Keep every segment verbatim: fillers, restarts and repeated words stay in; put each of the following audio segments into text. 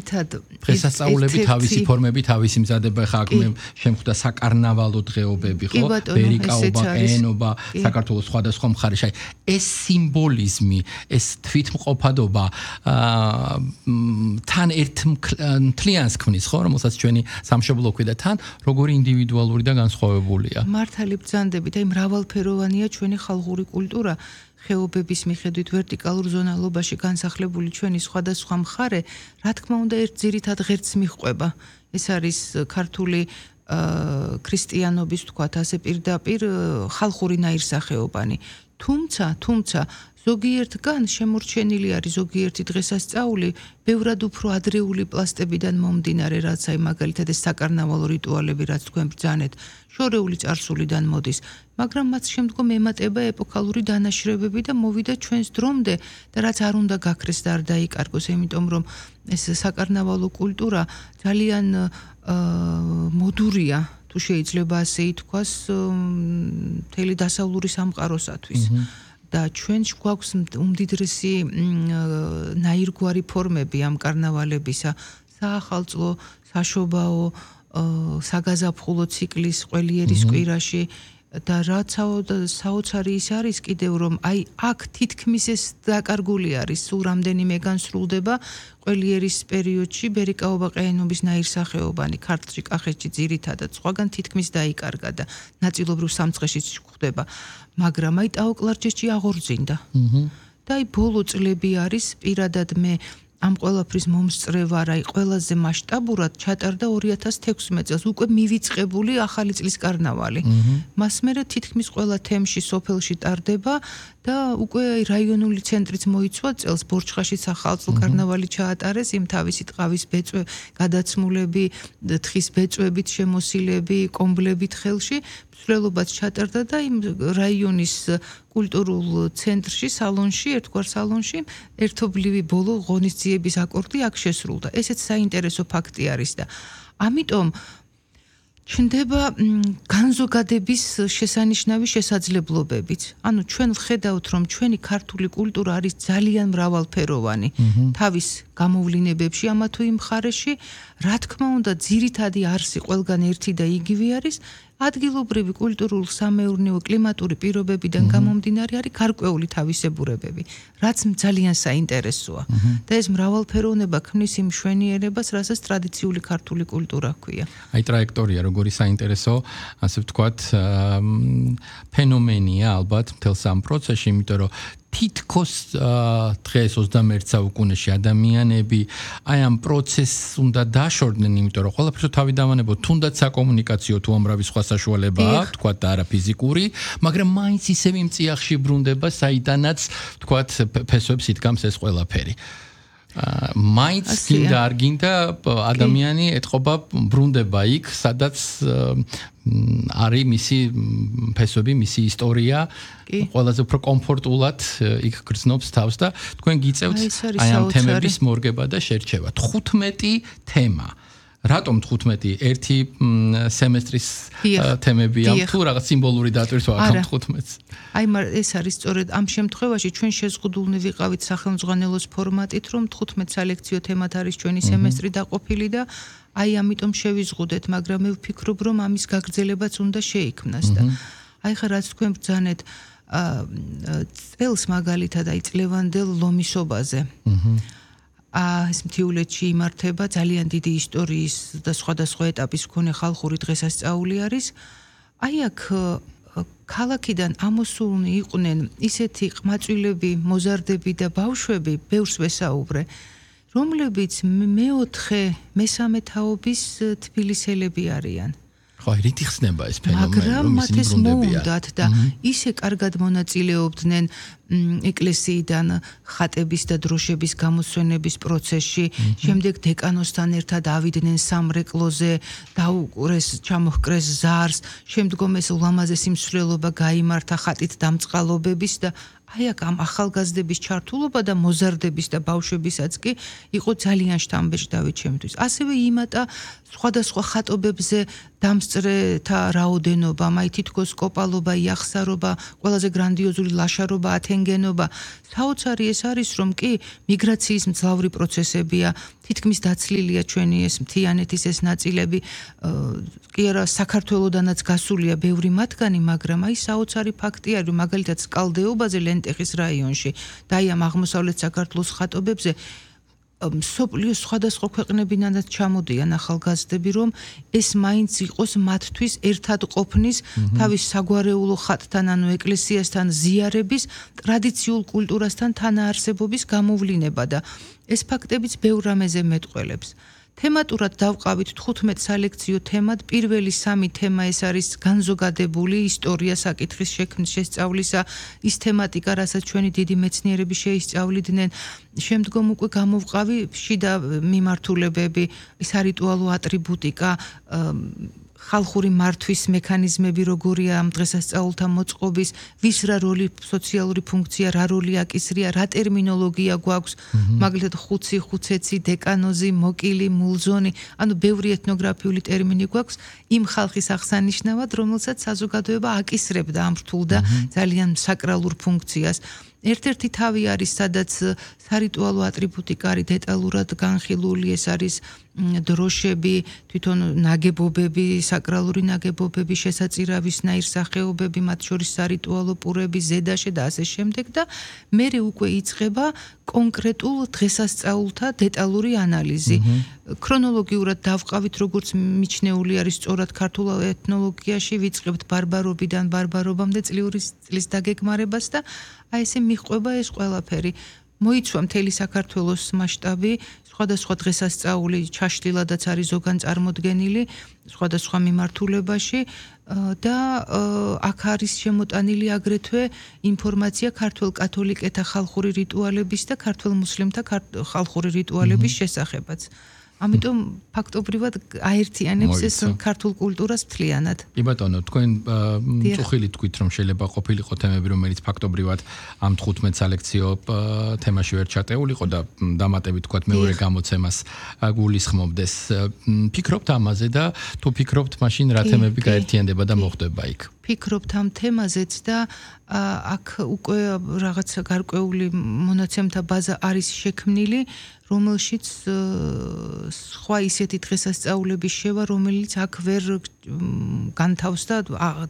დღესასწაულები თავისი ფორმები, თავისი მზადება, ხა აქ მე შემხვდა საკარნავალო დღეობები, ხო? ბერიკაობა, ენობა, საქართველოს სხვადასხვა მხარეში. ეს სიმბოლიზმი, ეს თვითმყოფადობა თან ერთ მთლიანს ქმნის, ხო, რომელსაც ჩვენი სამშობლო ქვია და თან როგორი ინდივიდუალური და განსხვავებულია. მართალი ბრძანდებით, აი მრავალფეროვანია ჩვენი ხალხური კულტურა. ხეობების მიხედვით ვერტიკალურ ზონალობაში განსახლებული ჩვენი სხვადასხვა მხარე, რა თქმა უნდა, ერთ ძირითად ღერცს მიჰყვება. ეს არის ქართული ქრისტიანობის, თქვათ, ასე პირდაპირ ხალხური ნაირსახეობანი. თუმცა, თუმცა ზოგიერთგან შემორჩენილი არის ზოგიერთი დღესასწაული, ბევრად უფრო ადრეული პლასტებიდან მომდინარე, რაც აი მაგალითად ეს საკარნავალო რიტუალები, რაც თქვენ ბრძანეთ, შორეული წარსულიდან მოდის, მაგრამ მათ შემდგომ ემატება ეპოქალური დანაშრებები და მოვიდა ჩვენს დრომდე და რაც არ უნდა გაქრეს და არ დაიკარგოს, იმიტომ რომ ეს საკარნავალო კულტურა ძალიან მოდურია, თუ შეიძლება ასე ითქვას, მთელი დასავლური სამყაროსათვის. და ჩვენს გვაქვს უმდიდრესი ნაირგვარი ფორმები ამ კარნავალებისა, საახალწლო, საშობაო, საგაზაფხულო ციკლის ყველიერის კვირაში და რაც საოცარი ის არის კიდევ რომ აი აქ თითქმის ეს დაკარგული არის, სულ რამდენიმე განსრულდება ყველიერის პერიოდში ბერიკაობა, ყაენობის ნაირსახეობანი, ქართლში, კახეთში ძირითადად, სხვაგან თითქმის დაიკარგა და ნაწილობრივ სამცხეშიც გვხვდება. მაგრამ აი ტაო-კლარჯეთში აღორძინდა. და აი ბოლო წლები არის პირადად მე ამ ყველაფრის მომსწრე ვარ, აი ყველაზე მასშტაბურად ჩატარდა ორი ათას თექვსმეტ წელს უკვე მივიწყებული ახალი წლის კარნავალი. მას მერე თითქმის ყველა თემში სოფელში ტარდება და უკვე რაიონული ცენტრიც მოიცვა წელს ბორჩხაშიც ახალწლო კარნავალი ჩაატარეს, იმ თავისი ტყავის ბეწვე, გადაცმულები, თხის ბეწვებით შემოსილები, კომბლებით ხელში მსვლელობაც ჩატარდა და იმ რაიონის კულტურულ ცენტრში, სალონში, ერთგვარ სალონში ერთობლივი ბოლო ღონისძიების აკორდი აქ შესრულდა. ესეც საინტერესო ფაქტი არის და ამიტომ ჩნდება განზოგადების შესანიშნავი შესაძლებლობებიც. ანუ ჩვენ ვხედავთ, რომ ჩვენი ქართული კულტურა არის ძალიან მრავალფეროვანი. თავის გამოვლინებებში ამა თუ იმ მხარეში, რა თქმა უნდა, ძირითადი არსი ყველგან ერთი და იგივე არის. ადგილობრივი კულტურულ სამეურნეო კლიმატური პირობებიდან გამომდინარე არის გარკვეული თავისებურებები, რაც ძალიან საინტერესოა. და ეს მრავალფეროვნება ქმნის იმ მშვენიერებას, რასაც ტრადიციული ქართული კულტურა ჰქვია. აი ტრაექტორია როგორი საინტერესო, ასე ვთქვათ, ფენომენია ალბათ მთელს ამ პროცესში, იმიტომ რომ თითქოს დღეს ოცდამეერთე საუკუნეში ადამიანები აი ამ პროცესს უნდა დაშორდნენ, იმიტომ რომ ყველაფერს თავი დავანებოთ, თუნდაც საკომუნიკაციო თუ ამრავი სხვა საშუალება აქვს, თქვა და არა ფიზიკური, მაგრამ მაინც ისევ იმ წიაღში ბრუნდება, საიდანაც თქვათ ფესვებს იდგამს ეს ყველაფერი. მაინც გინდა არ გინდა ადამიანი ეთყობა ბრუნდება იქ, სადაც არის მისი ფესვები, მისი ისტორია, ყველაზე უფრო კომფორტულად იქ გრძნობს თავს და თქვენ გიწევთ აი ამ თემების მორგება და შერჩევა. თხუთმეტი თემა. რატომ თხუთმეტი? ერთი სემესტრის თემებია თუ რაღაც სიმბოლური დატვირთვა აქვს თხუთმეტს? აი ეს არის სწორედ ამ შემთხვევაში ჩვენ შეზღუდულნი ვიყავით სახელმძღვანელოს ფორმატით, რომ თხუთმეტ სალექციო თემად არის ჩვენი სემესტრი დაყოფილი და აი ამიტომ შევიზღუდეთ, მაგრამ მე ვფიქრობ, რომ ამის გაგრძელებაც უნდა შეიქმნას და აი ხა რაც თქვენ ბრძანეთ წელს მაგალითად აი წლევანდელ ლომისობაზე. ეს მთიულეთში იმართება ძალიან დიდი ისტორიის და სხვადასხვა ეტაპის მქონე ხალხური დღესასწაული არის. აი აქ ქალაქიდან ამოსულნი იყვნენ ისეთი ყმაწვილები, მოზარდები და ბავშვები, ბევრს ვესაუბრე, რომლებიც მეოთხე, მესამე თაობის თბილისელები არიან. ხო, რითი ხსნება ეს ფენომენი, მაგრამ მათ ეს მოუნდათ და ისე კარგად მონაწილეობდნენ ეკლესიიდან ხატების და დროშების გამოსვენების პროცესში, შემდეგ დეკანოსთან ერთად ავიდნენ სამრეკლოზე, დაუყურეს, ჩამოჰკრეს ზარს, შემდგომ ეს ულამაზესი მსვლელობა გაიმართა ხატით დამწყალობების და აი აქ ამ ახალგაზრდების ჩართულობა და მოზარდების და ბავშვებისაც კი იყო ძალიან შთამბეჭდავი ჩემთვის. ასევე იმატა სხვადასხვა ხატობებზე დამსწრეთა რაოდენობა, აი თითქოს კოპალობა, იახსარობა, ყველაზე გრანდიოზული ლაშარობა ათენ შენგენობა. საოცარი ეს არის, რომ კი მიგრაციის მძლავრი პროცესებია, თითქმის დაცლილია ჩვენი ეს მთიანეთის ეს ნაწილები, კი არა საქართველოდანაც გასულია ბევრი მათგანი, მაგრამ აი საოცარი ფაქტი არის, რომ მაგალითად სკალდეობაზე ლენტეხის რაიონში და აი ამ აღმოსავლეთ საქართველოს ხატობებზე მსოფლიოს სხვადასხვა ქვეყნებიდანაც ჩამოდიან ახალგაზრდები, რომ ეს მაინც იყოს მათთვის ერთად ყოფნის, თავის საგვარეულო ხატთან, ანუ ეკლესიასთან ზიარების, ტრადიციულ კულტურასთან თანაარსებობის გამოვლინება და ეს ფაქტებიც ბევრ რამეზე მეტყველებს. თემატურად დავყავით თხუთმეტ სალექციო თემად. პირველი სამი თემა ეს არის განზოგადებული ისტორია საკითხის შექმნის შესწავლისა, ის თემატიკა, რასაც ჩვენი დიდი მეცნიერები შეისწავლიდნენ. შემდგომ უკვე გამოვყავი შიდა მიმართულებები, სარიტუალო ატრიბუტიკა, ხალხური მართვის მექანიზმები როგორია ამ დღესასწაულთა მოწყობის, ვის რა როლი, სოციალური ფუნქცია, რა როლი აკისრია, რა ტერმინოლოგია გვაქვს, მაგალითად ხუცი, ხუცეცი, დეკანოზი, მოკილი, მულზონი, ანუ ბევრი ეთნოგრაფიული ტერმინი გვაქვს იმ ხალხის აღსანიშნავად, რომელსაც საზოგადოება აკისრებდა ამ რთულ და ძალიან საკრალურ ფუნქციას. ერთ-ერთი თავი არის, სადაც სარიტუალო ატრიბუტიკა არის დეტალურად განხილული, ეს არის დროშები, თვითონ ნაგებობები, საკრალური ნაგებობები, შესაწირავისნაირ სახეობები, მათ შორის სარიტუალო პურები, ზედაშე და ასე შემდეგ და მერე უკვე იწყება კონკრეტულ დღესასწაულთა დეტალური ანალიზი. ქრონოლოგიურად დავყავით, როგორც მიჩნეული არის სწორად ქართულ ეთნოლოგიაში, ვიწყებთ ბარბარობიდან ბარბარობამდე წლიური წლის დაგეგმარებას და აი ესე მიჰყვება ეს ყველაფერი. მოიცვა მთელი საქართველოს მასშტაბი, სხვადასხვა დღესასწაული ჩაშლილადაც არის ზოგან წარმოდგენილი სხვადასხვა მიმართულებაში და აქ არის შემოტანილი აგრეთვე ინფორმაცია ქართველ კათოლიკეთა ხალხური რიტუალების და ქართველ მუსლიმთა ხალხური რიტუალების შესახებაც. ამიტომ ფაქტობრივად აერთიანებს ეს ქართულ კულტურას მთლიანად. კი ბატონო, თქვენ წუხილი თქვით, რომ შეიძლება ყოფილიყო თემები, რომელიც ფაქტობრივად ამ თხუთმეტ სალექციო თემაში ვერ ჩატეულიყო და დამატებით თქვათ მეორე გამოცემას გულისხმობდეს. ფიქრობთ ამაზე და თუ ფიქრობთ, მაშინ რა თემები გაერთიანდება და მოხდება იქ? ფიქრობთ ამ თემაზეც და აქ უკვე რაღაცა გარკვეული მონაცემთა ბაზა არის შექმნილი, რომელშიც სხვა ისეთი დღესასწაულების შევა, რომელიც აქ ვერ განთავსდა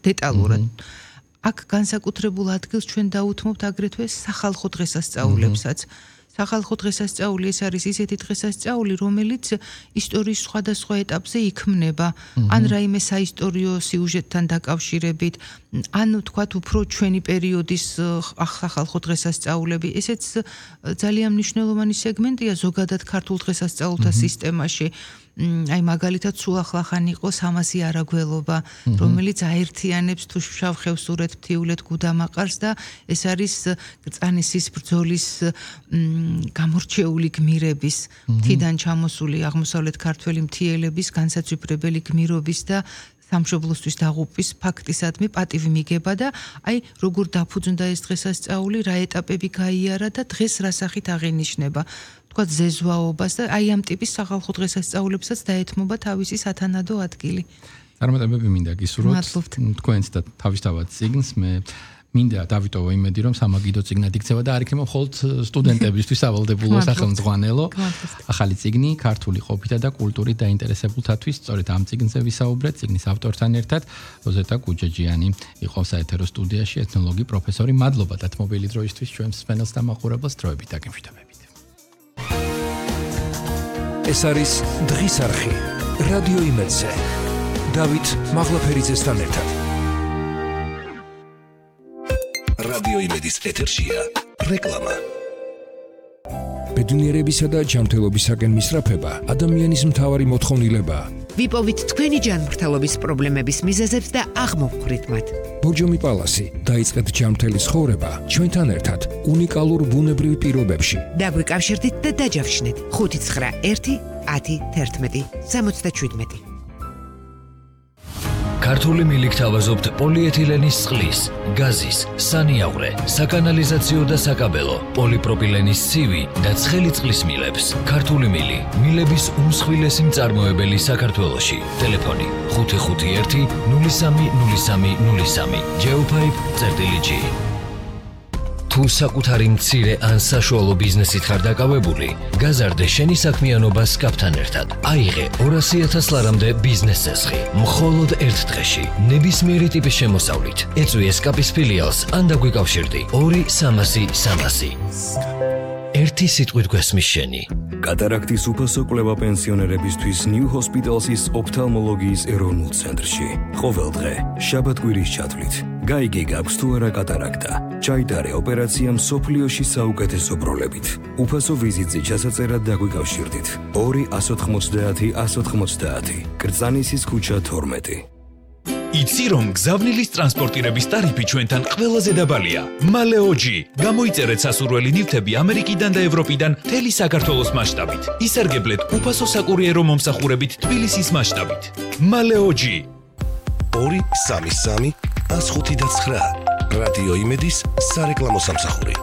დეტალურად. აქ განსაკუთრებულ ადგილს ჩვენ დაუთმობთ აგრეთვე სახალხო დღესასწაულებსაც. სახალხო დღესასწაული ეს არის ისეთი დღესასწაული, რომელიც ისტორიის სხვადასხვა ეტაპზე იქმნება, ან რაიმე საისტორიო სიუჟეტთან დაკავშირებით, ან თქვათ უფრო ჩვენი პერიოდის სახალხო დღესასწაულები. ესეც ძალიან მნიშვნელოვანი სეგმენტია ზოგადად ქართულ დღესასწაულთა სისტემაში. აი მაგალითად სულ ახლახან იყო სამასი არაგველობა, რომელიც აერთიანებს თუ შავ ხევსურეთ, მთიულეთ, გუდამაყარს და ეს არის გრწანისის ბრძოლის გამორჩეული გმირების, მთიდან ჩამოსული აღმოსავლეთ ქართველი მთიელების განსაცვიფრებელი გმირობის და სამშობლოსთვის დაღუპვის ფაქტისადმი პატივი მიგება და აი როგორ დაფუძნდა ეს დღესასწაული, რა ეტაპები გაიარა და დღეს რა სახით აღინიშნება. თქვათ ზეზვაობას და აი ამ ტიპის სახალხო დღესასწაულებსაც დაეთმობა თავისი სათანადო ადგილი. წარმატებები მინდა გისურვოთ თქვენს და თავისთავად წიგნს. მე მინდა დავიტოვო იმედი, რომ სამაგიდო წიგნად იქცევა და არ იქნება მხოლოდ სტუდენტებისთვის სავალდებულო სახელმძღვანელო. ახალი წიგნი ქართული ყოფითა და კულტურით დაინტერესებულთათვის, სწორედ ამ წიგნზე ვისაუბრეთ, წიგნის ავტორთან ერთად როზეტა გუჯაჯიანი იყო საეთერო სტუდიაში, ეთნოლოგი პროფესორი. მადლობა დათმობილი დროისთვის ჩვენს სპენელს და მაყურებელს, დროებით დაგემშვიდობებით. ეს არის დღის არხი რადიო იმედზე. დავით მაღლაფერიძესთან ერთად. რადიო იმედის ეთერშია რეკლამა. ბედნიერებისა და ჯანმრთელობისაკენ მისწრაფება ადამიანის მთავარი მოთხოვნილებაა. ვიპოვით თქვენი ჯანმრთელობის პრობლემების მიზეზებს და აღმოვხვრით მათ. ბორჯომი პალასი, დაიწყეთ ჯანმრთელი ცხოვრება ჩვენთან ერთად უნიკალურ ბუნებრივ პირობებში. დაგვიკავშირდით და დაჯავშნით ხუთი ცხრა ერთი ათი თერთმეტი სამოცდაშვიდმეტი. ქართული მილიქ თავაზობთ პოლიეთილენის წყლის, გაზის, სანიაღვრე, საკანალიზაციო და საკაბელო, პოლიპროპილენის ცივი და ცხელი წყლის მილებს. ქართული მილი, მილების უმსხვილესი მწარმოებელი საქართველოში. ტელეფონი ხუთი ხუთი ერთი ნული სამი ნული სამი ნული სამი. Geopipe წერტილი G. თუ საკუთარი მცირე ან საშუალო ბიზნესით ხარ დაკავებული, გაზარდე შენი საქმიანობა სკაპთან ერთად. აიღე ორასი ათას ლარამდე ბიზნეს წესხი, მხოლოდ ერთ დღეში, ნებისმიერი ტიპის შემოსავლით. ეწვი სკაპის ფილიალს ან დაგვიკავშირდი ორი სამასი სამასი. ერთი სიტყვით გვესმის შენი. კატარაქტის უფასო კვლევა პენსიონერებისთვის New Hospital's ოფთალმოლოგიის ეროვნულ ცენტრში. ყოველდღე, შაბათ-კვირის ჩათვლით. გაიგე გაქვს თუ არა კატარაქტა. ჩაიტარე ოპერაცია მსოფლიოში საუკეთესო პროლებით. უფასო ვიზიტზე ჩასაწერად დაგვიკავშირდით. ორი ათას ოცდაათი ათას ოცდაათი. კრწანისის ქუჩა თორმეტი. იცი რომ გზავნილის ტრანსპორტირების ტარიფი ჩვენთან ყველაზე დაბალია. მალეოჯი. გამოიწერეთ სასურველი ნივთები ამერიკიდან და ევროპიდან მთელი საქართველოს მასშტაბით. ისარგებლეთ უფასო საკურიერო მომსახურებით თბილისის მასშტაბით. მალეოჯი. ორი სამი სამი ათს ხუთი და ცხრა. რადიო იმედის სარეკლამო სამსახური.